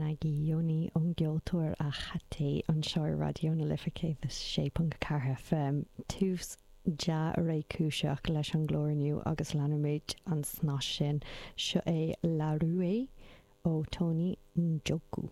Sakayanagi Yoni ón gceoltóir Ahate anseo ar Raidió na Life 106.4 FM. Tús dea-réchúiseach leis an gclár inniu agus leanfaimid an snas sin. Seo é La Rue ó Tony Njoku.